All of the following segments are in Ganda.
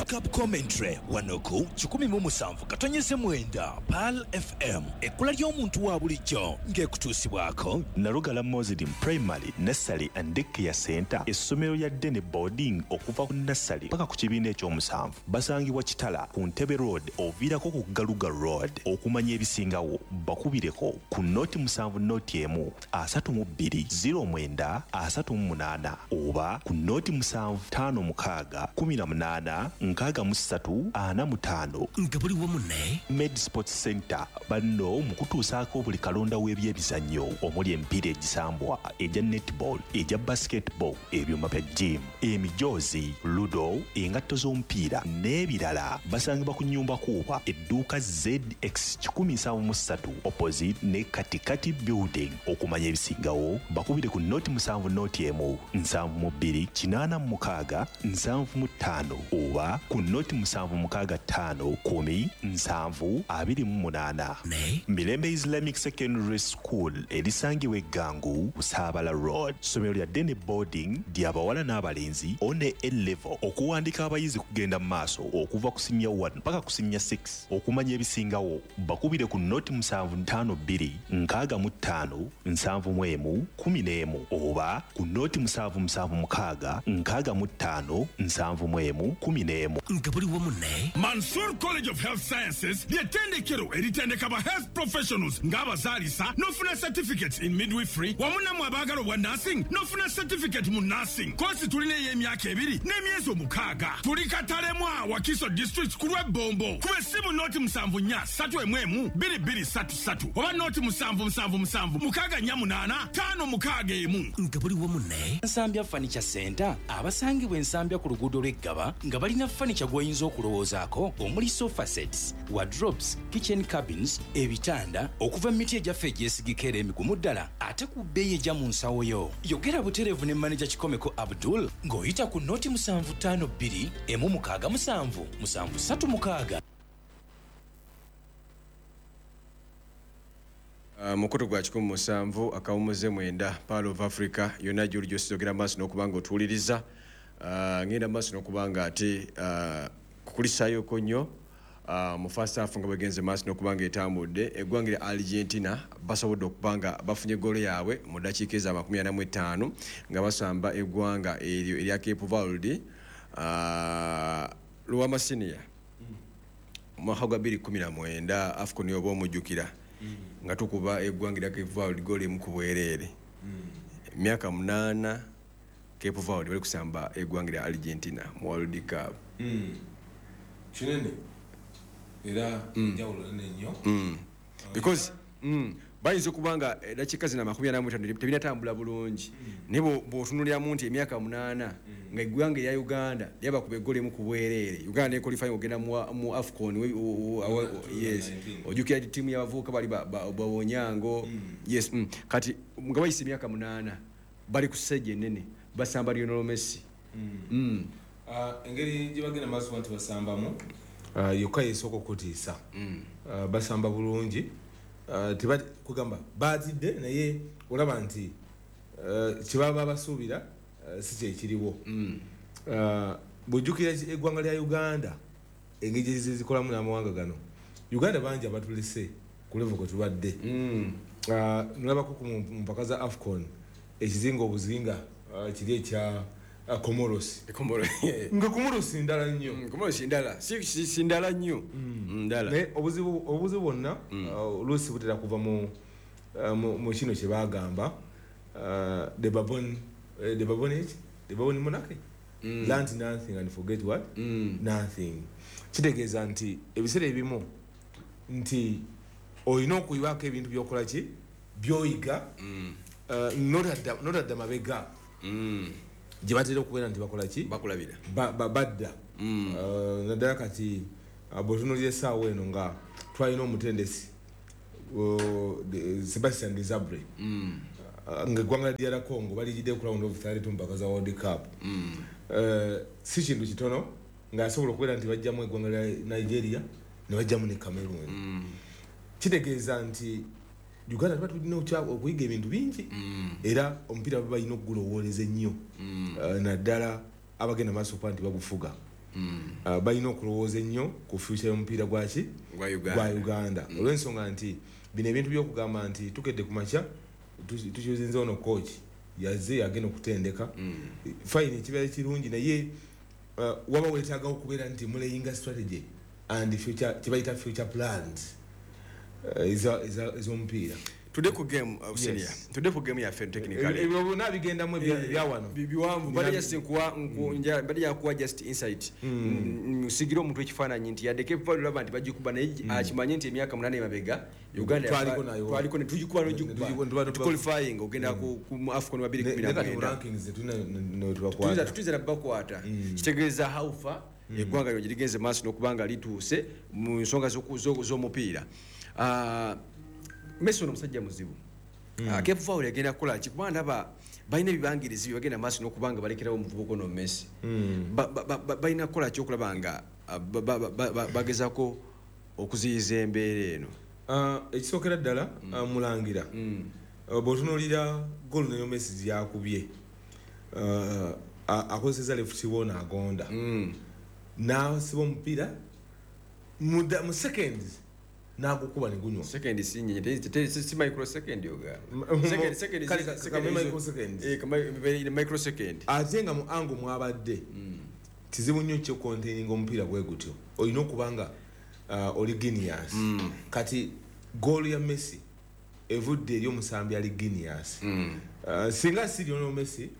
Cup Commentary wano ku 107.9 Pearl FM, ekkula ly'omuntu wa bulijjo, ng'ekutuusibwako Nalugala Muslim Primary, Nursery and Daycare Center, essomero lya day ne boarding okuva ku nursery paka ku kibiina ekyomusanvu. Basangibwa Kitala ku Ntebe Road, oviirako ku Galuga Road. Okumanya ebisingawo bakubireko ku 0 70 1 32 09 38 oba ku 0756 18 63 45. Nga buli wamu ne Med Sports Center, banno mu kutuusaako buli kalonda w'ebyemizannyo omuli emipiira egisambwa, egya netball, egya basketball, ebyuma bya gym, emijoozi, ludo, engatto z'omupiira n'ebirala. Basangibwa ku Nyumba Kuuba, edduuka ZX 173, opposite ne Katikati Building. Okumanya ebisingawo bakubire ku 070 1 72 86 75 oba ku 076 10 70 28. Ne Mirembe Islamic Secondary School erisangibwa Eggangu, Busaabala Road, ssomero lya day ne boarding ly'abawala n'abalenzi, O ne A level. Okuwandika abayizi kugenda mu maaso okuva ku senior 1 paka ku senior 6. Okumanya ebisingawo bakubire ku 0752 65 71 11 oba ku 0776 65 71 11. Nga buli wamu ne Mansur College of Health Sciences ly'ettendekero eritendeka ba health professionals ng'abazaalisa n'ofuna certificates in midwifery, wamu nammwe abaagala obwa nursing n'ofuna certificate mu nursing. Kosi tulina ey'emyaka 2 n'emyezi 6. Tuli Katalemwa, Wakiso District, ku lw'Ebbombo. Kuba essimu 074 311 2233 oba 0777 648 561. Nga buli wamu ne Nsambya Furniture Center, abasangibwa Ensambya ku luguudo lw'Eggaba, nga balina furniture gw'oyinza okulowoozaako omuli sofa sets, wardrobes, kitchen cabins, ebitanda okuva mu miti egyaffe egyesigika era emigumu ddala, ate ku bbeeyi ejja mu nsawo yo. Yogera butereevu ne maneja Kikomeko Abdul ng'oyita ku 0752 167 736. Mukutu gwa 107.9 Pearl of Africa, yonna gyoli gyosizogera maaso n'okuba nga otuwuliriza. Ngenda maaso n'okuba nga ate kukulisayoko nnyo mu first half nga bwegenze maaso n'okuba nga etambudde. Eggwanga lya Argentina basobodde okuba nga bafunye ggoolo yaabwe mu ddakiika eza 45 nga basamba eggwanga eryo erya Cape Verde. Luwama Senior, omwaka gwa 2019 AFCON, oba omujjukira nga tukuba eggwanga erya Cape Verde goolo 1 ku bwereere? Emyaka 8 Cape Verde bali kusamba eggwanga lya Argentina mu World Cup. Kinene era njawulo nene nnyo. Because bayinza okuba nga eddakiika zino 45 tebinatambula bulungi, naye bw'otunuliramu nti emyaka 8 nga eggwanga erya Uganda lyabakuba eggolo 1 ku bwereere, Uganda nequalifying ogenda mu AFCON. Yes. 2019. Ojjukira ttiimu y'abavubuka bali bawonyango. Yes. Kati nga bayise emyaka 8 bali ku stage enene basamba Lionel Messi. Engeri gye bagenda maaso nti basambamu, yokka yesooka okutiisa. Basamba bulungi. Kugamba baatidde, naye olaba nti kyebaba basuubira si kyekiriwo. Bw'ojjukira eggwanga lya Uganda, engeri gye zikolamu n'amawanga gano, Uganda bangi abatulese ku level kwe tubadde. Nolabako ku mu mpaka za AFCON, ekizinga obuzinga kiri ekya Comoros. Nga Comoros ndala nnyo. Comoros ndala, si ndala nnyo. Ndala. Naye obuzibu bwonna oluusi butera kuva mu kino kye bagamba the babon, the babon eki? The babon monarchy. Learn nothing and forget what? Nothing. Kitegeeza nti ebiseera ebimu nti olina okuyiwako ebintu byokola ki byoyiga, notadda mabega gye batera okubeera nti bakola ki? Bakulabira. Badda. Naddala kati bw'otunuulira essaawa eno nga twalina omutendesi Sebastian Desabre, nga eggwanga lya DR Congo baligidde ku round of 32 mpaka za World Cup. Si kintu kitono ng'asobola okubeera nti bajjamu eggwanga lya Nigeria ne bajjamu ne Cameroon. Kitegeeza nti Uganda tuba tulina okuyiga ebintu bingi, era omupiira baba balina okugulowooleza ennyo, naddala abagenda maaso okuba nti bagufuga. Balina okulowooza ennyo ku future y'omupiira gwaki gwa Uganda, olw'ensonga nti bino ebintu by'okugamba nti tukedde ku makya tukyuzinze ono coach yazze yagenda okutendeka, fine, kibeera kirungi, naye waba weetaagawo okubeera nti mulayinga strategy and future, kibayita future plans ez'omupiira. Tudde ku game, senior. Tudde ku game yaffe technically. Ebyo byonna bigendamu ebyawano. Biwanvu, mbadde just nkuwa mbadde yakuwa just insight, nsigira omuntu ekifaananyi nti yadde Cape Verde olaba nti bagikuba, naye akimanye nti emyaka 8 emabega Uganda Twaliko nayo. Twaliko ne tugikuba n'ogikuba, qualifying ogenda ku AFCON wa 2019. Rankings tetulina Tuyinza tutuyinza nabakwata. Kitegeeza how far eggwanga lyo gye maaso n'okuba nga lituuse mu nsonga z'omupiira. Messi ono musajja muzibu. Cape Verde agenda kukola ki? Kubanga ndaba balina ebibangirizi bye bagenda maaso n'okuba nga balekerawo omuvubuka ono Messi. Balina kukola ki okulaba nga bagezaako okuziyiza embeera eno? Ekisookera ddala, mulangira, bw'otunuulira goal neyo Messi gyakubye, akozeseza left wona agonda n'asiba omupiira mu seconds n'agukuba ne gunywa. Second si nyenye, si microsecond yoga. Second kale microseconds. Microsecond. Ate nga mu angle mwabadde kizibu nnyo kyokontaininga omupiira bwe gutyo, olina okuba nga oli genius. Kati goal ya Messi evudde eri omusambi ali genius. Singa si Lionel Messi,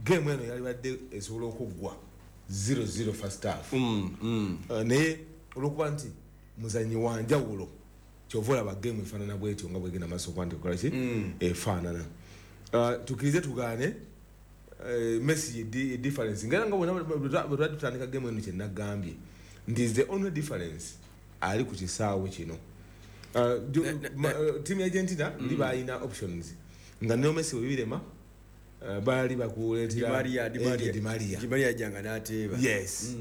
game eno yalibadde esobola okuggwa 0-0 first half. Naye olwokuba nti muzanyi wa njawulo, kyova olaba game efaanana bwetyo nga bwegenda maaso okuba nti ekola ki, efaanana. Tukkirize tugaane, Messi ye difference, nga bwe twali tutandika game eno kyenagambye nti is the only difference ali ku kisaawe kino. Tiimu ya Argentina li balina options nga ne Messi bwe birema, baali bakuleetera Di Maria, Di Maria. Di Maria. Di Maria ajjanga n'ateeba. Yes,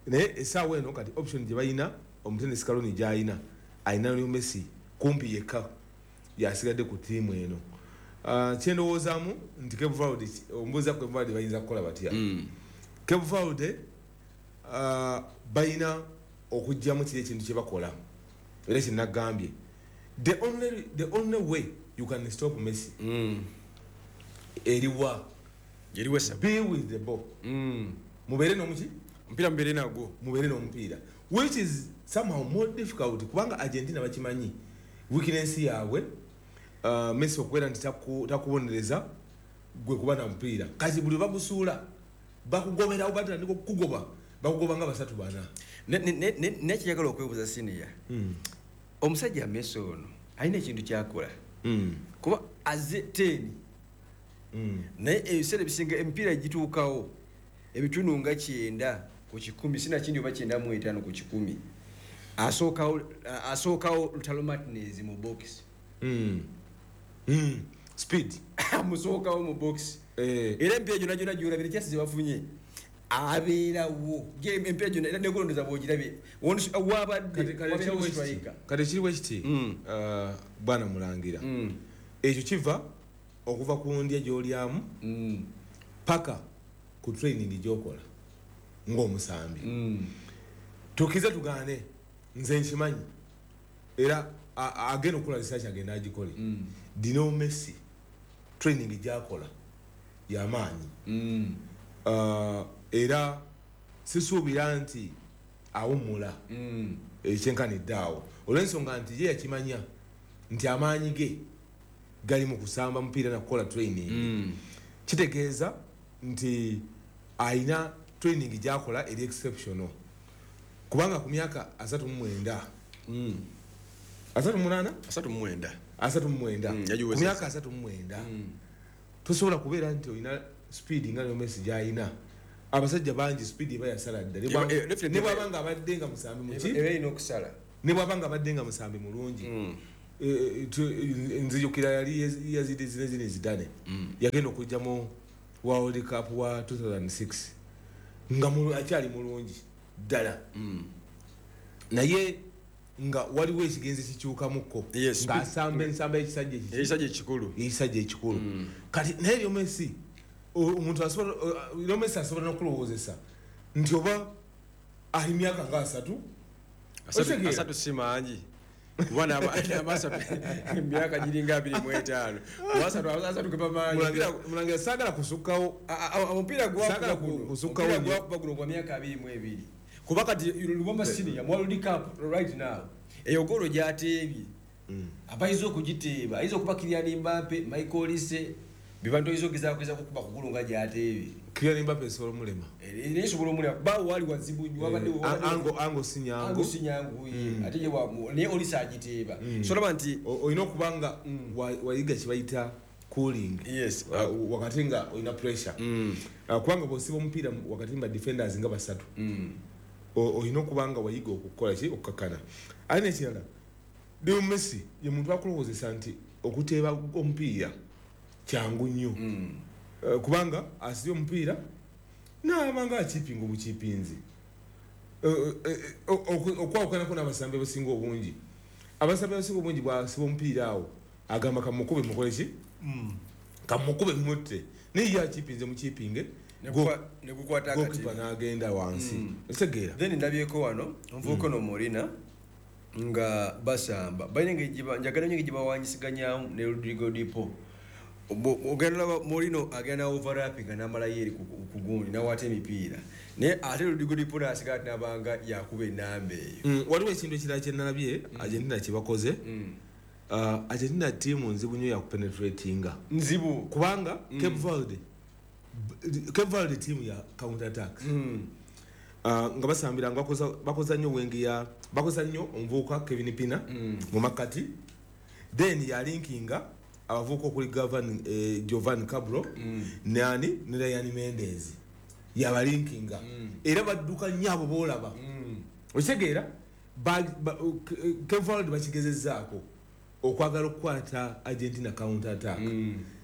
naye essaawa eno kati option gye balina, omutendesi Scaloni gy'alina, alina Lionel Messi kumpi yekka yasigadde ku ttiimu eno. Kyendowoozaamu nti Cape Verde, ombuuza Cape Verde bayinza kukola batya? Cape Verde balina okuggyamu kiri ekintu kye bakola, era kyenagambye, the only way you can stop Messi eriwa? Eriwesa. Be with the ball. Mubeere n'omuki? Mpira mubeere nagwo. Mubeere n'omupiira, which is somehow more difficult kubanga Argentina bakimanyi weakness yaabwe, Messi okubeera nti takubonereza gwe kuba na mupiira. Kati buli bagusuula bakugoberawo, batandika okukugoba, bakugoba nga basatu bana. Nekyeyagala okwebuuza, senior, omusajja Messi ono alina ekintu kyakola, kuba aze 10, naye ebiseera ebisinga emipiira egituukawo ebitundu nga 90%, sinakindi oba 95%, asookawo Lautaro Martinez mu box. Speed. Amusookawo mu box. Eh. Era emipiira gyonna gyonna gyolabire kyasi zebafunye abeerawo. Emipiira gyonna era negolondeza bwogirabye wabadde wabeerawo striker. Kati kiriwo ekiti, bwana mulangira, ekyo kiva okuva ku ndya gy'olyamu paka ku training gy'okola ng'omusambi. Tukize tugaane, nze nkimanyi era agenda okukola research, agenda agikole. Lionel Messi training gyakola yamaanyi. Era sisuubira nti awummula ekyenkanidde awo, olw'ensonga nti ye yakimanya nti amaanyi ge gali mu kusamba mupiira nakukola training. Kitegeeza nti ayina training gyakola eri exceptional, kubanga ku myaka 39, 38, 39. 39. Yagiwezezza. Ku myaka 39 tosobola kubeera nti olina speed nga Lionel Messi gyalina. Abasajja bangi speed eba yasala dda. Definitely. Ne bwaba nga abadde nga musambi muki, eba erina okusala. Ne bwaba nga abadde nga musambi mulungi. Nzijukira yali Yazidi Zinedine Zidane yagenda okujja mu World Cup wa 2006 nga akyali mulungi ddala, naye nga waliwo ekigenzi kikyukamukko ng'asamba ensamba y'ekisajja ekisajja ekikulu. Ekisajja ekikulu. Kati naye Lionel Messi, omuntu asobola, Lionel Messi asobola n'okulowoozesa nti oba Ali myaka nga 3. 3 si mangi. Kuba abasatu emyaka giringa 25. Asatu geba mangi. Mulangira saagala kusukkawo. Omupiira gwakuba guno gwa myaka 22. Kuba kati Lubamba Senior mu World Cup right now. Eyo goolo gy'ateebye. Abayinza okugiteeba, ayinza okuba Kylian Mbappe, Michael Olise, bibantu oyinza okugezaako kukuba ku ggoolo nga gy'ateebye. Kylian Mbappe esobola omulema. Naye esobola omulema. Bawo wali wazibu nnyo, wabadde Ango si nyangu. Ango si nyangu, ate ye naye Olise agiteeba. So olaba nti olina okuba nga wayiga kye bayita cooling. Yes. Wakati nga olina pressure. Kubanga bw'osiba omupiira wakati nga defenders nga basatu. Olina okuba nga wayiga okukola ki okukakkana. Ate n'ekirala, Leo Messi ye muntu akulowoozesa nti okuteeba omupiira kyangu nnyo. Kubanga asibye omupiira n'aba nga akipinga obukipinzi. Okwawukanako n'abasambi abasinga obungi. Abasambi abasinga obungi bw'asiba omupiira awo agamba kamukube mukole ki? Kamukube mutte. Naye ye akipinze mukipinge negukwata akati. Goalkeeper n'agenda wansi. Otegeera. Then ndabyeko wano omuvubuka ono Molina nga basamba balina engeri njagala nnyo engeri gye bawanyisiganyaamu ne Rodrigo Dipo. Ogenda olaba Molino agenda overlapping nga n'amalayo eri ku gundi n'awaata emipiira, naye ate Rodrigo Dipo n'asigala ati n'abanga yakuba ennamba eyo. Waliwo ekintu ekirala kye nalabye Argentina kye bakoze. Argentina ttiimu nzibu nnyo yakupenetratinga. Nzibu. Kubanga Cape Verde ttiimu ya counter attacks. Nga basambira nga bakoza nnyo wing ya bakoza nnyo omuvubuka Kevin Pina mu makkati, then yalinkinga abavubuka okuli Giovanni Cabral nani ne Ryan Mendes yabalinkinga era badduka nnyo abo boolaba. Okitegeera Cape Verde bakigezezzaako okwagala okukwata Argentina counter attack.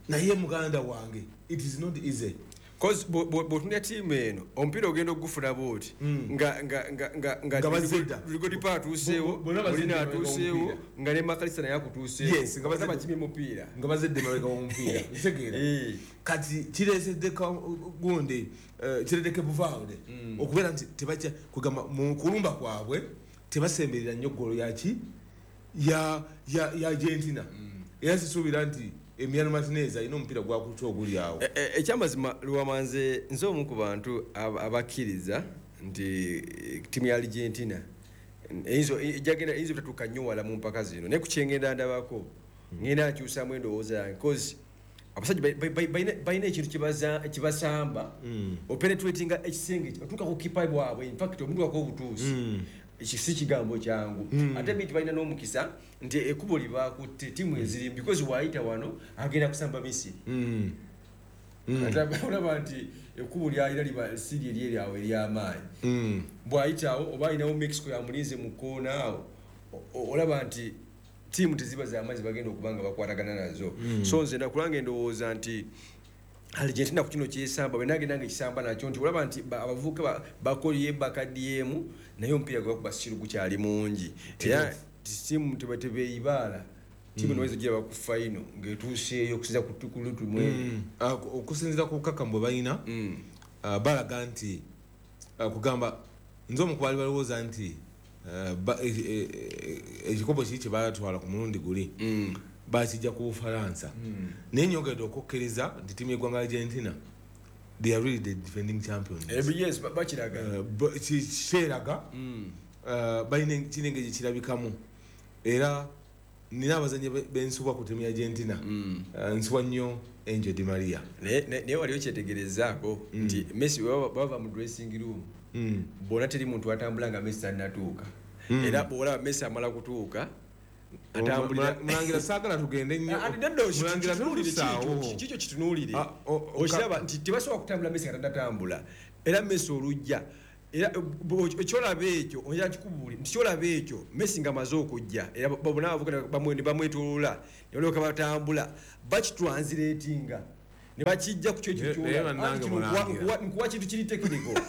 Naye muganda wange it is not easy. Cause bw'otunula ttiimu eno omupiira ogenda okugufuna bw'oti nga Rodrigo Dipo atuuseewo, Molina atuuseewo, nga ne Makalisa naye akutuuseewo. Yes, nga bazze bakimye mupiira. Nga bazze mabega w'omupiira. Okitegeera. Kati kireetedde gundi kireetedde Cape Verde okubeera nti tebakya kugamba mu kulumba kwabwe tebasemberera nnyo ggoolo yaki ya Argentina. Era sisuubira nti Emiliano Martinez alina omupiira gwakutte oguli awo. Ekyamazima Lwamanze nze omu ku bantu abakkiriza nti ttiimu ya Argentina eyinza obutatuuka nnyo wala mu mpaka zino, naye ku kyengenda ndabako ngenda nkyusaamu endowooza yange cause abasajja balina ekintu kibasamba openetratinga ekisenge otuuka ku kipa bwabwe, in fact omuntu wako obutuusi. Ekyo si kigambo kyangu. Ate bintu balina n'omukisa nti ekkubo lye baakutte ttiimu ezirimu because bw'ayita wano agenda kusamba Misiri. Ate olaba nti ekkubo ly'alina liba si lye lyeri awo ery'amaanyi. Bw'ayita awo oba alinawo Mexico yamulinze mu kkoona awo, olaba nti ttiimu teziba z'amaanyi bagenda okuba nga bakwatagana nazo. So nze nakulanga endowooza nti Argentina ku kino kyesamba bwe nagenda nga ekisamba nakyo nti olaba nti abavubuka bakolye bakaddiyemu naye omupiira gwe bakuba siru gukyali mungi. Era ttiimu tebeeyibaala. Ttiimu noweza giraba ku final ng'etuuseeyo okusinziira ku lutu mwene. Okusinziira ku bukakkamu bwe balina, balaga nti kugamba nze omu ku baali balowooza nti ekikopo kiri kye baatwala ku mulundi guli bakijja ku Bufalansa. Naye nyongedde okukkiriza nti ttiimu y'eggwanga Argentina they are really the defending champions. Yes, bakiraga. Kyeraga balina kirina engeri gye kirabikamu. Era nina abazannyi bensubwa ku ttiimu ya Argentina. Nsubwa nnyo Angel Di Maria. Naye wali okyetegerezaako nti Messi bwe bava mu dressing room bonna teri muntu atambula nga Messi tannatuuka. Era bw'olaba Messi amala kutuuka atambulira. Mulangira saagala tugende nnyo. Mulangira tulusaawo. Kikyo kitunuulire. Okiraba nti tebasobola kutambula Messi nga tannatambula. Era Messi olujja era ekyolaba ekyo oyinza kikubuulira nti kyolaba ekyo Messi nga amaze okujja era bonna abavubuka ne bamwetooloola ne balyoka batambula bakitranslatinga ne bakijja ku kyo ekyo Naye bannange mulangira. Nkuwa kintu kiri technical.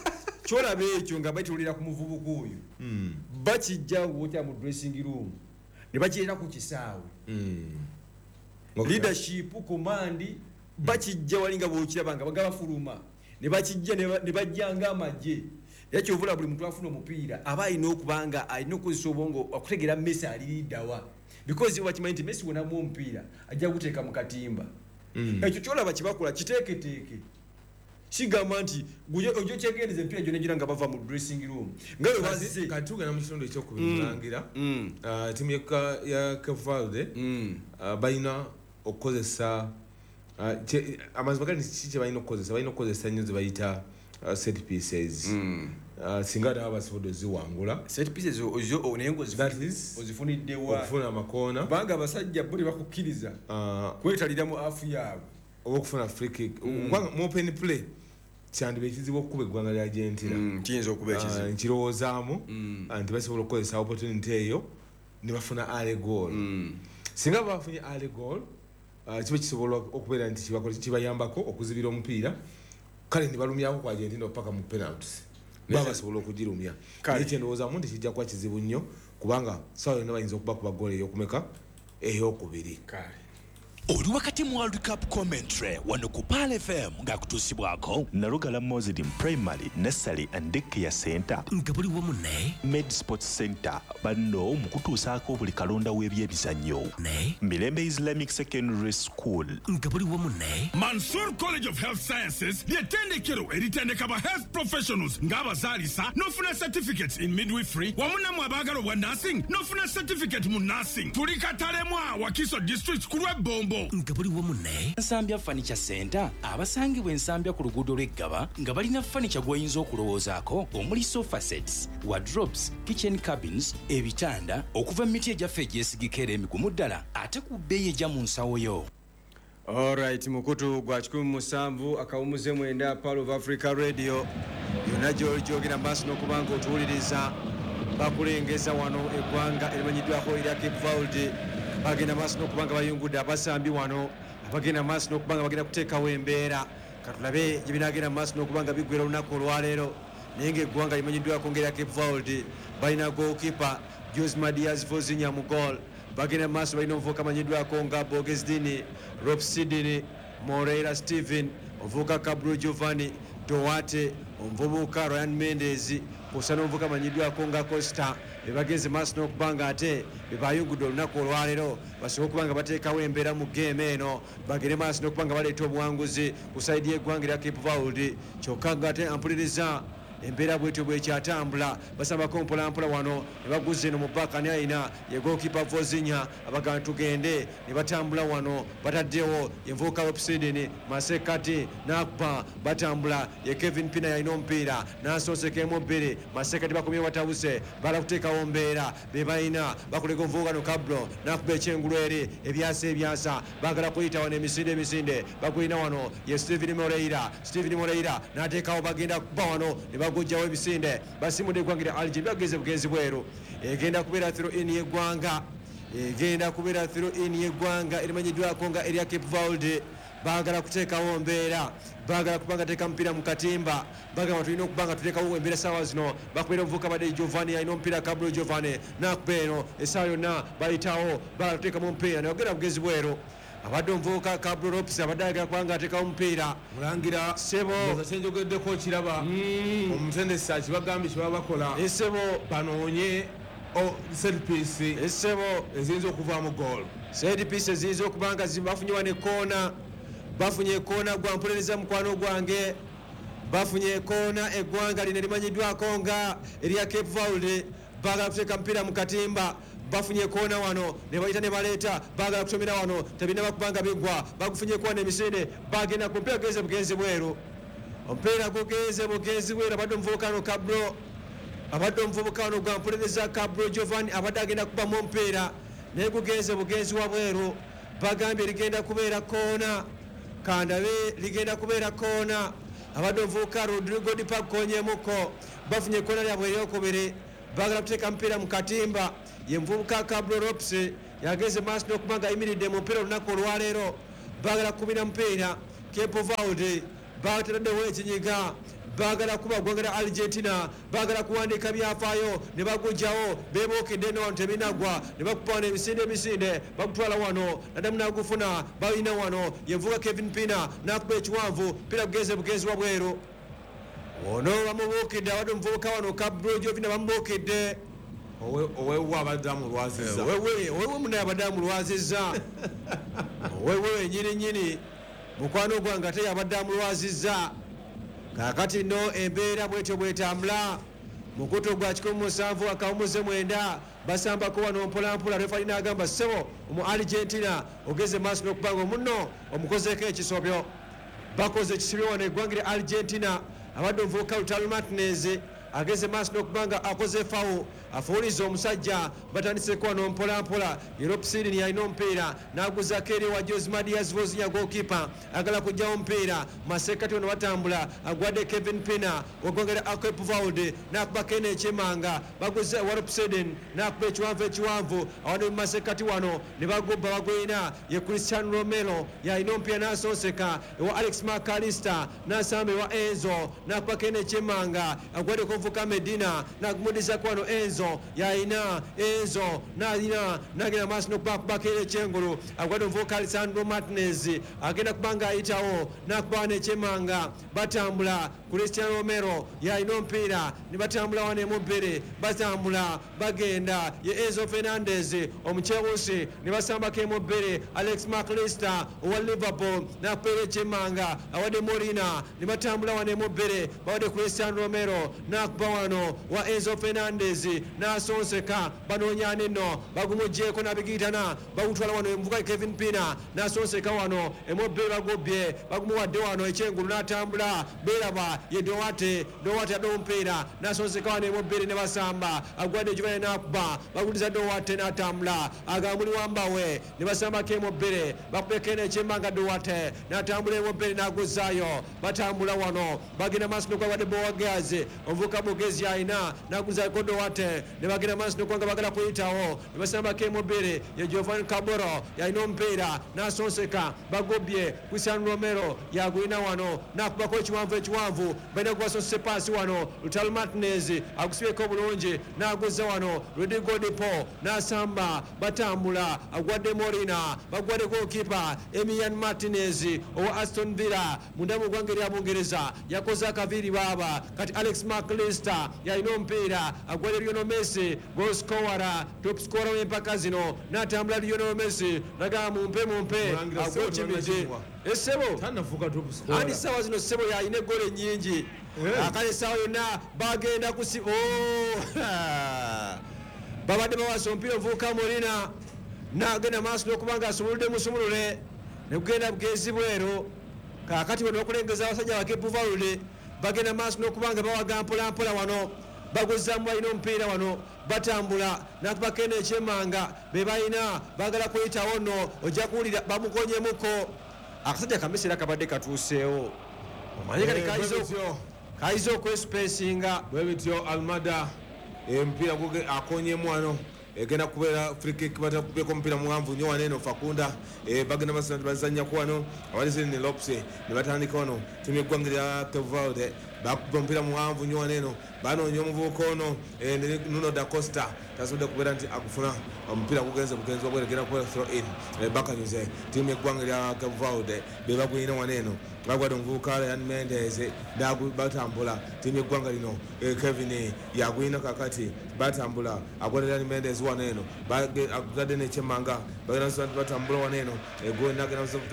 Kyolaba ekyo nga betolera ku muvubuka oyo bakijja wotya mu dressing room ne bakireeta ku kisaawe. Leadership command bakijja wali nga bw'okiraba nga bafuluma ne bakijja ne bajja ng'amagye. Era kyovula buli muntu afuna omupiira aba alina okuba nga alina okukozesa obwongo okutegeera Messi aliriddawa, because bakimanyi nti Messi wonamu omupiira ajja kuteeka mu katimba. Ekyo kyolaba kyebakola kiteeketeeke, kigamba nti ojja okyegendereza emipiira gyonna gyonna nga bava mu dressing room nga bwe bazze. Kati tugenda mu kitundu ekyokubiri, Mulangira. Ttiimu ya Cape Verde balina okukozesa, amazima gali ki kye balina okukozesa? Balina okukozesa nnyo ze bayita set pieces. Singa nabo basobodde oziwangula. Set pieces naye That is, ozifuniddewa? Okufuna amakoona. Kubanga abasajja bo tebakukkiriza kwetalira mu afu yaabwe. Oba okufuna free kick. Kubanga mu open play kyandiba ekizibu okukuba eggwanga lya Argentina. Kiyinza okuba ekizibu. Nkirowoozaamu nti basobola okukozesa opportunity eyo ne bafuna early goal. Singa bafunye early goal, kiba kisobola okubeera nti kibayambako okuzibira omupiira, kale ne balumyako ku Argentina paka mu penalties, baba basobola okugirumya. Naye kyendowoozamu nti kijja kuba kizibu nnyo, kubanga sawa yonna bayinza okubakuba goal eyokumeka, eyokubiri. Oli wakati mu World Cup commentary wano ku Pearl FM ng'akutuusibwako Nalugala Muslim Primary, Nursery and Daycare Center, nga buli wamu ne Med Sports Center, banno mu kutuusaako buli kalonda w'ebyemizannyo, ne Mirembe Islamic Secondary School, nga buli wamu ne Mansur College of Health Sciences ly'ettendekero eritendeka ba health professionals ng'abazaalisa n'ofuna certificates in midwifery, wamu nammwe abaagala obwa nursing n'ofuna certificate mu nursing. Tuli Katalemwa, Wakiso District, ku lw'Ebbombo. Nga buli wamu ne Nsambya Furniture Center, abasangibwa Ensambya ku luguudo lw'Eggaba, nga balina furniture gw'oyinza okulowoozaako omuli sofa sets, wardrobes, kitchen cabins, ebitanda okuva mu miti egyaffe egyesigika era emigumu ddala, ate ku bbeeyi ejja mu nsawo yo. Alright, mukutu gwa 107.9, Pearl of Africa Radio, yonna gyoli gyogenda maaso n'okuba nga otuwuliriza. Bakulengeza wano eggwanga erimanyiddwako erya Cape Verde, bagenda maaso n'okuba nga bayungudde abasambi wano abagenda maaso n'okuba nga bagenda kuteekawo embeera. Katulabe gye binaagenda maaso n'okuba nga biggwera olunaku olwaleero. Naye ng'eggwanga limanyiddwako ng'erya Cape Verde balina goalkeeper Josma Diaz Vozinha mu goal. Bagenda maaso balina omuvubuka amanyiddwako nga Bogesdini Ropsidini Moreira Steven, omuvubuka Cabro Giovanni Duarte, omuvubuka Ryan Mendes, kw'ossa n'omuvubuka amanyiddwako nga Costa. Bebagenze maaso n'okuba nga ate bebayungudde olunaku olwaleero basobole okuba nga bateekawo embeera mu geemu eno, bagende maaso n'okuba nga baleeta obuwanguzi ku side y'eggwanga erya Cape Verde. Kyokka nga ate ampuliriza, embeera bwetyo bwekyatambula, basambako mpolampola wano ne baguza eno mu baka ayina ye goalkeeper Vozinha, abagamba tugende, ne batambula wano, bataddewo yenvubuka Ropsidin masekati nakuba, batambula, ye Kevin Pina yalina omupiira n'asoosekemu bbiri, masekati bakomyewo, batabuse, bala kuteekawo mbeera be balina, bakulega omuvubuka no Cabro nakuba ekyengulu eri ebyasa ebyasa, baagala kuyita wano emisinde emisinde, bagulina wano ye Steven Moreira. Steven Moreira n'ateekawo, bagenda kuba wano ne bagujjawo ebisinde, basimudde eggwanga lya Algeria, bageze bugenzi bweru, egenda kubeera throw in y'eggwanga, egenda kubeera throw in y'eggwanga erimanyiddwako nga erya Cape Verde. Baagala kuteekawo mbeera, baagala kuba nga teeka mupiira mu katimba, bagamba tulina okuba nga tuteekawo embeera saawa zino. Bakubira omuvubuka badde Giovanni, alina omupiira Cabro Giovanni nakuba eno, essaawa yonna bayitawo, baagala kuteekamu omupiira newagenda bugezi bweru. Abadde omuvubuka Cabro Lopes abadde ayagala kuba nga ateekawo omupiira. Mulangira. Ssebo. Ndowooza kyenjogeddeko kiraba omutendesi akibagambye kyebaba bakola. Essebo. Banoonye set piece Essebo. eziyinza okuvaamu goal. Set piece eziyinza okuba nga bafunye wano ekoona, bafunye ekoona. Gwampulereza mukwano gwange, bafunye ekoona. Eggwanga lino erimanyiddwako nga erya Cape Verde baagala kuteeka mupiira mu katimba. Bafunye ekoona wano ne bayita ne baleeta, baagala kutomera wano, tebinaba kuba nga biggwa. Bagufunye ekoona, emisinde, bagenda ku mupiira, gugenze bugenzi bweru, omupiira gugenze bugenzi bweru. Abadde omuvubuka no Cabro, abadde omuvubuka wano gwampulereza Cabro Giovanni abadde agenda kubamu omupiira, naye gugenze bugenzi wabweru. Bagambye ligenda kubeera koona, kandabe ligenda kubeera koona. Abadde omuvubuka Rodrigo Dipakonyemuko. Bafunye koona lyabwe eryokubiri, baagala kuteeka mupiira mu katimba. Ye muvubuka Cabro Lopes yagenze maaso n'okuba nga ayimiridde mu mupiira olunaku olwaleero. Baagala kukubira mupiira Cape Verde, batereddewo ekinyiga, baagala kuba ggwanga lya Argentina, baagala kuwandiika byafaayo ne bagujjawo. Bebuukidde no wano, tebinagwa, ne bakupa wano emisinde emisinde, bagutwala wano, naddamu nagufuna, balina wano yenvuga Kevin Pina nakuba ekiwanvu, pira bugenze bugenzi wabweru. Ono bamubuukidde, abadde omuvubuka wano Kabro Jovina bamubuukidde. Owewe abadde amulwazizza. Owewe munaye abadde amulwazizza, owewe nyini nyini mukwano gwange ate yabadde amulwazizza. Kaakati nno embeera bwetyo bwetambula. Mukutu gwa 107.9 basambako wano mpolampola. Refali n'agamba, ssebo omu Argentina ogeze maaso n'okubanga omunno omukozeeko ekisobyo. Bakoze ekisobyo wano eggwanga lya Argentina. Abadde omuvubuka Lautaro Martinez ageze maaso n'okubanga akoze foul, afuuliza omusajja. Batandiseko wano mpolampola. Yeropsirini yalina omupiira n'aguzako eri wa Josma Diaz Vozinha, goalkeeper agala kugjawo omupiira masekati wano. Batambula, agwadde Kevin Pina wegwanga lya Cape Verde, n'akubako eno ekyemanga, baguze Waropseden, n'akuba ekiwanvu ekiwanvu awano mu masekati wano ne bagubba. Bagwina ye Cristiano Romero yalina omupiira n'asonseka ewa Alex McAllister, n'asamba ewa Enzo, n'akubako eno ekyemanga, agwadde konvuka Medina, n'agumudizako wano. Enzo yalina, Enzo nalina, nagenda maaso n'okubakubako era ekyengulu, agwadde omuvubuka Alessandro Martinez, agenda kubanga ayitawo n'akuba wano ekyemanga. Batambula, Cristiano Romero yalina omupiira ne batambula wano emubbere, batambula bagenda ye Enzo Fernandez omucherusi ne basambako emubbere. Alex McAllister owa Liverpool n'akubeera ekyemanga, awadde Molina ne batambula wano emubbere, bawadde Cristiano Romero, n'akuba wano wa Enzo Fernandez n'asonseka. Banoonyana nno, bagumugyeko n'abigiyitana, bagutwala wano emuvuka Kevin Pina n'asonseka wano emubbere, bagubbye, bagumuwadde wano ekyengulu n'atambula. Beeraba ye Dowate, Dowate adde omupiira n'asonseka wano emubbere ne basamba, agwadde Juvane n'akuba, baguliza Dowate n'atambula, agamuli wambawe ne basambako emubbere, bakubeko eno ekyembanga, Dowate n'atambula emubbere n'aguzaayo. Batambula wano, bagenda maaso nokwabadde Bowagazi, omuvuka Bugezi alina n'aguzako Dowate ne bagenda maaso nokwanga bagala kuyitawo ne basambako emubbere. Ye Jovan Kaboro yalina omupiira n'asonseka, bagobye. Cristiano Romero yagulina wano n'akubako ekiwanvu ekiwanvu, balina gubasonsese paasi wano. Lautaro Martinez agusibyeko bulungi n'aguza wano Rodrigo De Paul n'asamba, batambula, agwadde Molina, bagwadde goalkeeper Emilian Martinez owa Aston Villa munda mu ggwanga erya Bungereza, yakoze akaviiri baaba. Kati Alex McAllister yalina omupiira, agwadde Lionel Messi, goal scorer, top scorer w'empaka zino, n'atambula Lionel Messi nagamba mumpe mumpe. Mulangira ssebo. Agwekimidde. Tebanakimuwa. Essebo Tanafuuka top scorer. Andi saawa zino ssebo yalina eggolo ennyingi. Akale essaawa yonna bagenda kusi. Oh! Babadde bawasa omupiira omuvubuka Molina n'agenda maaso n'okuba nga asumuludde musumulule ne gugenda bugezi bweru. Kaakati bano okulengeza abasajja ba Cape Verde bagenda maaso n'okuba nga bawaga mpolampola wano, baguzaamu, balina omupiira wano, batambula nakubako eno ekyemanga, be balina bagala kuyitawo nno, ojja kuwulira bamukonyemuko. Akasajja kamesi era kabadde katuuseewo, omanye kati kayiza okwespacinga. Bwe bityo Almada omupiira akonyemu wano, egenda kubeera free kick. Batakubeko omupiira muwanvu nnyo wano eno. Fakunda bagenda basana bazannyako wano abalizini Lopes ne batandika wano. Timu yeggwanga lya Cape Verde bakuba omupiira muwanvu nnyo wano eno, banoonya omuvubuka ono Nuno da Costa, tasobodde kubeera nti agufuna. Omupiira gugenze bugenzi wabwere, genda kubeera throw in. Bakanyuze timu yeggwanga lya Cape Verde be bagulina wano eno, bagwadde omuvubuka Ryan Mendes, batambula timu yeggwanga lino. Kevin yagulina kakati, batambula, agwadde Ryan Mendes wano eno, agadde nekyemanga, bagenda batambula wano eno,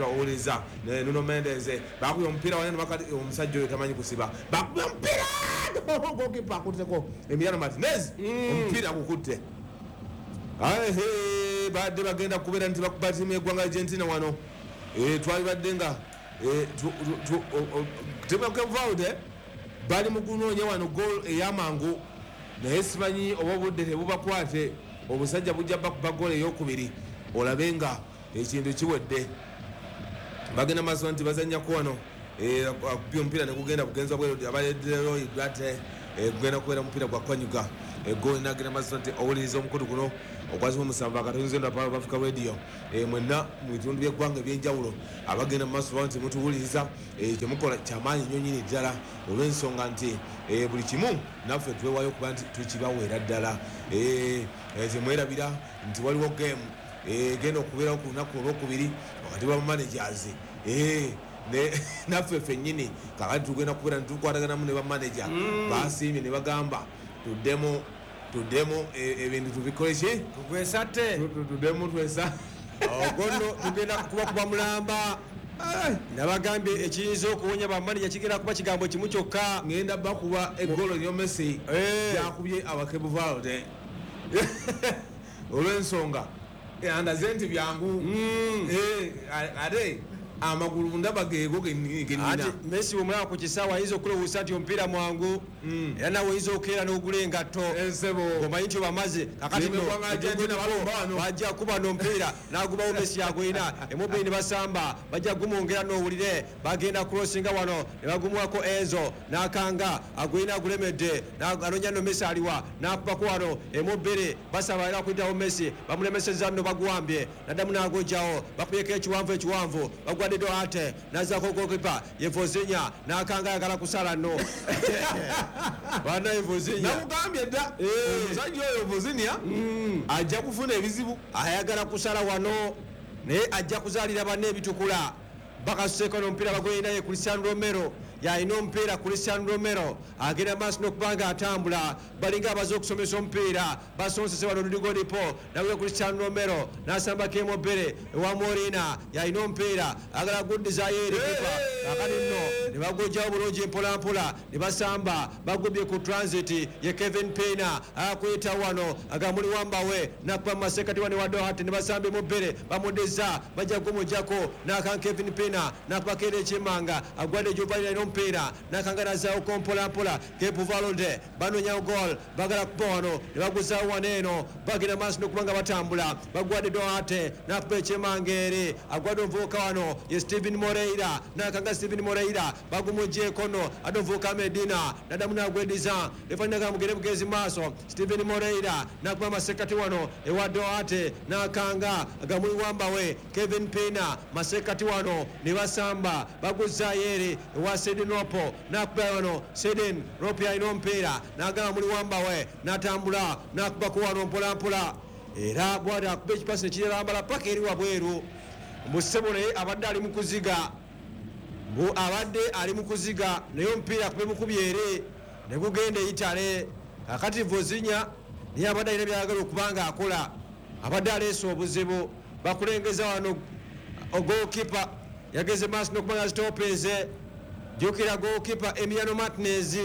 owuliza Nuno Mendes, bakubye omupiira wano eno. Bakati omusajja oyo tamanyi kusiba, bakubye omupiira, goalkeeper akutteko. Emiliano Martinez omupiira gukutte. Ahe, badde bagenda kubeera nti bakuba tiimu yeggwanga Argentina wano. Twali badde nga tiimu ya Cape Verde bali mu kunoonya wano goal ey'amangu, naye simanyi oba obudde tebubakwate, obusajja bujja bakuba goal eyokubiri olabe nga ekintu kiwedde. Bagenda maaso nti bazannyako wano, akubye omupiira ne gugenda bugenzi wabweru. Abaledderoy Duarte, gugenda kubeera mupiira gwa kwanyuga egoli. Nagenda maaso nti owuliriza omukutu guno ogwazimu 7.7 Africa Radio. Mwenna mu bitundu by'eggwanga ebyenjawulo abagenda mu maaso nti mutuwuliriza, kyemukola kyamaanyi nnyo nyini ddala, olw'ensonga nti buli kimu naffe twewaayo okuba nti tukibaweera ddala. Temwerabira nti waliwo game egenda okubeerawo ku lunaku olwokubiri wakati wa managers. Naffe ffennyini kakati tugenda kubeera nitukwataganamu ne bamaneja basiimye ne bagamba tuddemu ebintu tubikole ki tugwesate tuddemu twesa ogono tugenda kuba mulamba. Nabagambye ekiyinza okuwonya bamaneja kigenda kuba kigambo kimu kyokka. Ngenda bakuba eggolo lyo Messi yakubye aba Cape Verde olw'ensonga andaze nti byangu ate amagulu ndaba geego genina. Ate Messi bw'omulaba ku kisaawe ayinza okulowooza nti omupiira mwangu, era nawe oyinza okeera n'ogula engatto omanyi nti obamaze. Kakati nno bajja kuba n'omupiira n'agubawo Messi agwina emobili ne basamba bajja gumwongera n'owulire bagenda kurosinga wano ne bagumuwako Enzo n'akanga agwina agulemedde anoonya nno Messi aliwa n'akubako wano emobili basaba era kuyitawo Messi bamulemesezza nno baguwambye naddamu n'agojjawo bakubyeko ekiwanvu bagwa Duarte nazako goalkeeper ye Vozinha n'akanga ayagala kusala nno bana ye Vozinha nakugambye dda omusajja oyo Vozinha ajja kufuna ebizibu ayagala kusala wano naye ajja kuzaalira banne ebitukula. Bakasuseeko n'omupiira bagweyina ye Cristiano Romero yalina omupiira. Cristiano Romero agenda maaso n'okuba nga atambula balinga abaze okusomesa omupiira basonsese wano Rodrigo De Paul nawe Cristiano Romero n'asambako emobere ewa Morena yalina omupiira agala guddizayo eri kipa kakati nno ne bagojjawo bulungi mpolampola ne basamba bagubye ku transit ye Kevin Pena akuyita wano agamuli wambawe nakuba mu masekati wano wa Dohati ne basamba emobere bamuddiza bajja gumuggyako n'akan Kevin Pena nakubako era ekyemanga agwadde Giovanni alina omupiira nakanganazawo mpolampola. Cape Verde banonyawo goal bagala kuba wano ne baguzaawo wano eno bagenda maaso n'okuba nga batambula bagwadde Dohate nakuba ekyemanga eri agwadde omuvubuka wano ye Steven Moreira nakanga Steven Moreira bagumuggyeko nno ate omuvubuka Medina naddamu n'agwediza efaananaga mugende bugezi maaso. Steven Moreira nakuba amasekati wano ewa Dohate nakanga agamuliwambawe Kevin Pena masekati wano ne basamba baguzaayo eri ewa Sedin Ropo nakuba wano Sedin Ropo alina omupiira n'agamba muliwambawe n'atambula n'akubako wano mpolampola era bw'ati akuba ekipasi ne kirambala paka eri wabweru. Musebo naye abadde ali mu kuziga abadde ali mu kuziga naye omupiira akube mukubi eri ne gugenda eyitale. Kakati Vozinha naye abadde alina by'ayagala okuba nga akola abadde aleese obuzibu bakulengeza wano goalkeeper yageze maaso n'okuba nga zitopeze. Jjukira goalkeeper Emiliano Martinez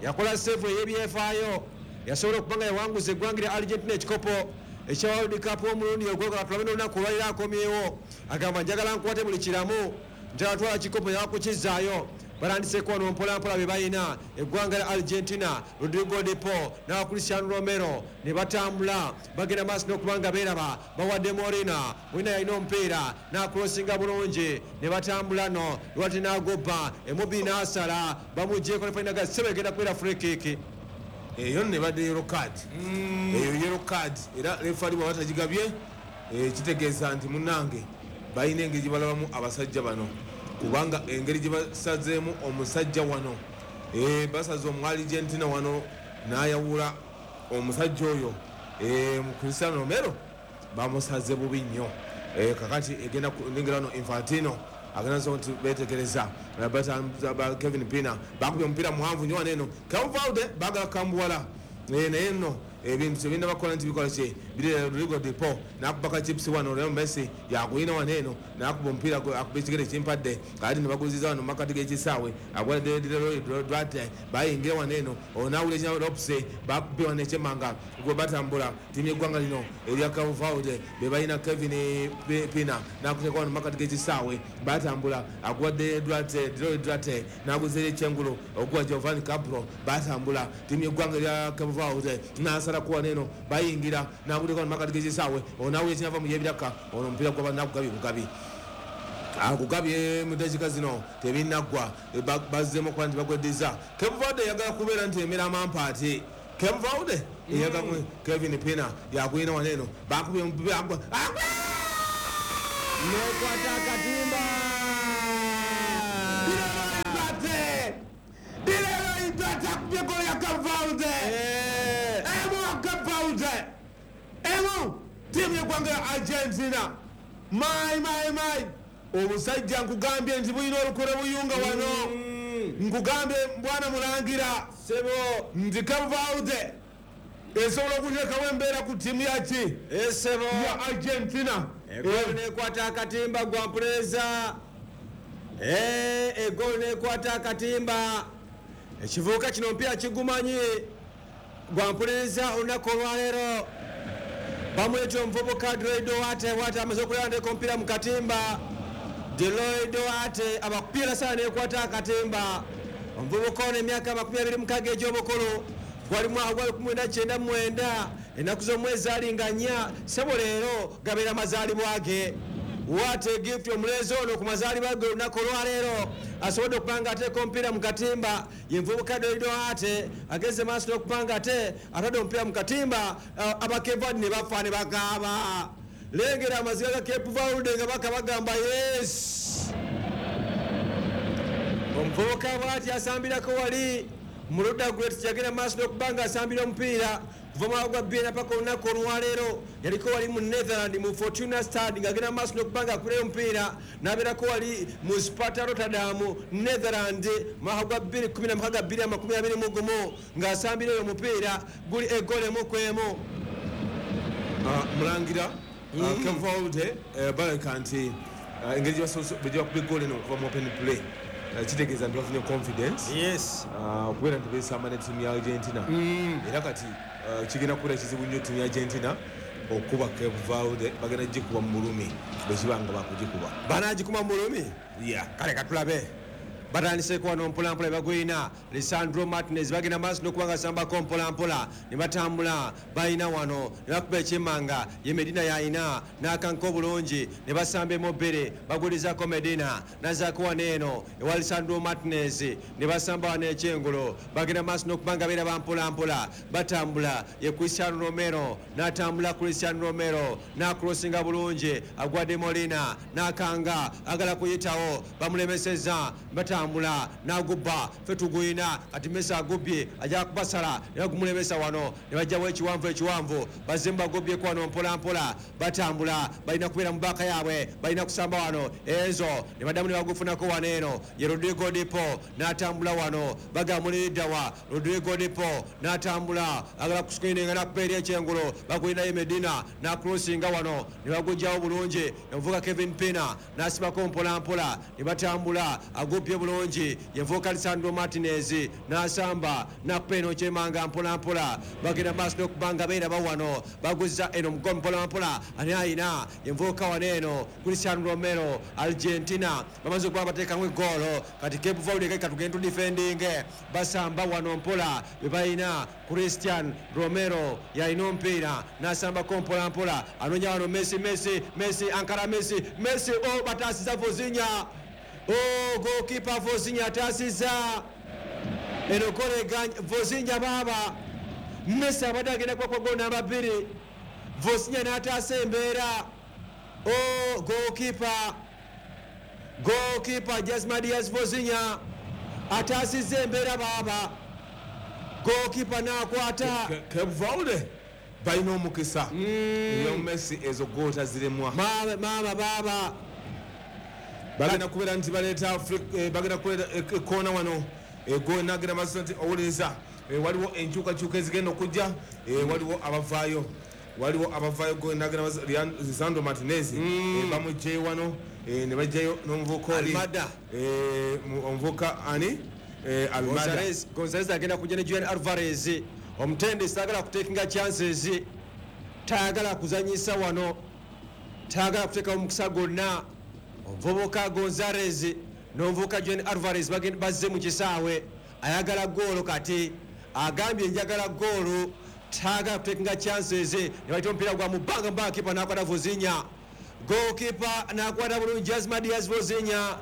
yakola save ey'ebyefaayo yasobola okuba nga yawanguza eggwanga lya Argentina ekikopo ekya World Cup omulundi ogwo. Katulabe n'olunaku olwaliro akomyewo agamba njagala nkwate buli kiramu njagala twala kikopo yakukizzaayo. Balandiseeko wano mpolampola be balina eggwanga lya Argentina Rodrigo De Paul n'aba Cristiano Romero ne batambula bagenda maaso n'okuba nga beeraba bawadde Morena Morena yalina omupiira n'akulosinga bulungi ne batambula no Duarte n'agobba emobili n'asala bamuggyeko nefaananaga ssebo egenda kubeera free kick. Eyo nno ebadde yellow card, eyo yellow card era refari bw'aba tagigabye kitegeeza nti munnange balina engeri gye balabamu abasajja bano kubanga engeri gye basazeemu omusajja wano basaze omu Argentina wano n'ayawula omusajja oyo mu Cristiano Romero bamusaze bubi nnyo. Kakati egenda nengera wano Infantino agenda nti beetegereza Kevin Pina bakubye omupiira muwanvu nnyo wano eno Cape Verde baagala kambuwala naye nno ebintu tebirina bakola nti bikola ki biri Rodrigo De Paul n'akuba ka chips wano Lionel Messi yakuyina wano eno n'akuba omupiira akuba ekigere kimpadde kati ne baguziza wano makati g'ekisaawe agwadde Duarte bayingira wano eno onaawula ekina Lopes bakubye wano ekyemanga gwe batambula ttiimu y'eggwanga lino erya Cape Verde be balina Kevin Pina n'akuteeka wano makati g'ekisaawe batambula agwadde Duarte n'aguza eri ekyengulu okuwa Giovanni Cabral batambula ttiimu y'eggwanga erya Cape Verde n'asala kuwa neno bayingira n'aguteeka wano makati g'ekisaawe onaawula ekinava mu y'ebiraka ono omupiira gwaba nagugabye bugabi akugabye mu dakiika zino tebinnaggwa bazzeemu okuba nti bagweddiza. Cape Verde eyagala kubeera nti emera amampaati. Cape Verde eyagala Kevin Pina yakuyina wano eno bakubye omupiira nekwata akatimba Duarte akubye ggoolo ya Cape Verde emu Cape Verde emu ttiimu y'eggwanga ya Argentina. My Obusajja nkugambye nti bulina olukole buyunga wano. Nkugambye bwana Mulangira sebo nti Cape Verde esobola okuteekawo embeera ku ttiimu yaki esebo ya Argentina. Egolo nekwata akatimba gwa mpuleza. Egolo nekwata akatimba. Ekivuuka kino omupiira kigumanyi gwa mpuliriza. Olunaku olwaleero bamuyita omuvubuka Deloy Duarte. Bwati amaze okulaba omupiira mu katimba. Deloy Duarte abakupiira sana nekwata akatimba. Omuvubuka ono emyaka 26 egy'obukulu, gwali mwaka gwa 1999, ennaku z'omwezi alinga 4. Sebo leero gabeera mazaalibwa ge. What a gift omulenzi ono ku mazaalibwa ge olunaku olwaleero asobodde okuba nga ateeka omupiira mu katimba. Ye nvubuka Deloy Duarte ageze maaso n'okuba nga ate atadde omupiira mu katimba. Aba Cape Verde ne bafa ne bakaaba. Lengera amaziga ga Cape Verde nga bagamba yes. Omuvubuka bw'ati asambirako wali mu ludda Great, yagenda maaso n'okuba nga asambira omupiira kuva mwaka gwa 20 paka olunaku olwaleero. Yaliko wali mu Netherland mu Fortuna Stad ng'agenda maaso n'okuba nga akubirayo omupiira, n'abeerako wali mu Sparta Rotterdam Netherland mwaka gwa 2016 2021 ng'asambira oyo omupiira guli eggoolo 1-1. Mulangira, Cape Verde balabika nti engeri gye bakuba eggoolo eno okuva mu open play kitegeeza nti bafunye confidence. Yes. Okubeera nti beesamba ne ttiimu ya Argentina. Era kati kigenda kubeera kizibu nnyo ttiimu ya Argentina okukuba Cape Verde. Bagenda gikuba mu bulumi bwe kiba nga bakugikuba. Banagikuba mu bulumi? Yeah. Kale katulabe. Batandiseeko wano mpolampola, bagwina Lisandro Martinez, bagenda maaso n'okuba nga asambako mpolampola ne batambula. Balina wano ne bakuba ekyemmanga, ye Medina yayina n'akanka obulungi ne basamba emo bbiri, bagulizaako Medina nazaako wano eno ewa Lisandro Martinez ne basamba wano ekyengulu. Bagenda maaso n'okuba nga beera bampolampola, batambula. Ye Cristiano Romero n'atambula, Cristiano Romero n'acrossinga bulungi, agwadde Molina n'akanga agala kuyitawo, bamulemesezza. Batambula n'agubba, ffe tuguyina kati. Messi agubbye, ajja kubasala ne bagumulemesa wano ne bajjawo ekiwanvu, ekiwanvu bazze bagubbyeko wano mpolampola. Batambula, balina kubeera mu baaka yaabwe, balina kusamba wano Enzo ne baddamu ne bagufunako wano eno ye Rodrigo Dipo n'atambula wano, bagamuliriddawa. Rodrigo Dipo n'atambula, agala kuscreeninga nakuba eri ekyengulu, bagulinayo Medina n'acrossinga wano ne bagugjawo bulungi. Envuka Kevin Pina n'asibako mpolampola ne batambula, agubbye bulungi yenvuka Lisandro Martinez n'asamba nakuba eno kyemanga mpolampola. Bagenda maaso n'okuba nga beeraba wano, baguzza eno mugo mpolampola. Ani ayina? Yenvuka wano eno Cristiano Romero. Argentina bamaze okuba bateekamu eggoolo, kati Cape Verde kati katugende tudefendinge. Basamba wano mpola, be balina Cristian Romero yalina omupiira n'asambako mpolampola, anoonya wano Messi, Messi, Messi, ankara Messi, Messi, o bataasiza Vozinha, o goalkeeper Vozinha ataasiza eno goal. Vozinha baaba, Messi abadde agenda kuba kwa goal namba 2, Vozinha n'ataasa embeera. O goalkeeper, goalkeeper Jasma Diaz Vozinha ataasizza embeera baaba, goalkeeper n'akwata. Cape Verde balina omukisa. Leo Messi ezo goal taziremwa. Maama, maama, baaba. Bagenda kubeera nti baleeta bagenda kuleeta ekoona wano. Egoal nagenda maaso nti owuliriza, waliwo enkyukakyuka ezigenda okujja, waliwo abavaayo, waliwo abavaayo. Goal nagenda maaso, Lisandro Martinez bamugjeyo wano, ne bajjayo n'omuvubuka oli. Almada. Omuvubuka ani? Almada. Gonzalez agenda kujja ne Julian Alvarez. Omutendesi tayagala kutekinga chances, tayagala kuzanyisa wano, tayagala kuteekawo omukisa gwonna. Omuvubuka Gonzalez n'omuvubuka Julian Alvarez bazze mu kisaawe. Ayagala goolo kati, agambye njagala goolo, tayagala kutekinga chances. Ne bayita omupiira gwa mubbanga mbanga, kipa n'akwata Vozinha, goalkeeper n'akwata bulungi Jasma Diaz Vozinha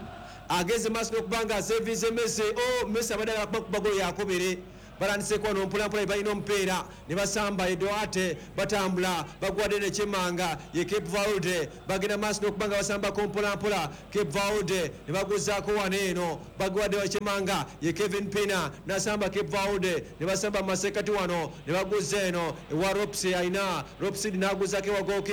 ageze maaso n'okuba nga asevinze Messi. O Messi abadde agala kuba golo yakubiri. Balandiseeko wano mpolampola, balina omupiira ne basamba Eduarte, batambula, bagwadde nekyemanga ye Cape Verde. Bagenda maaso n'okuba nga basambako mpolampola. Cape Verde ne baguzaako wano eno, bagwadde wakyemanga ye Kevin Pina nasamba. Cape Verde ne basamba masekati wano ne baguza eno ewa Rops, ayina Rops n'aguzaako ewa goalkeeper.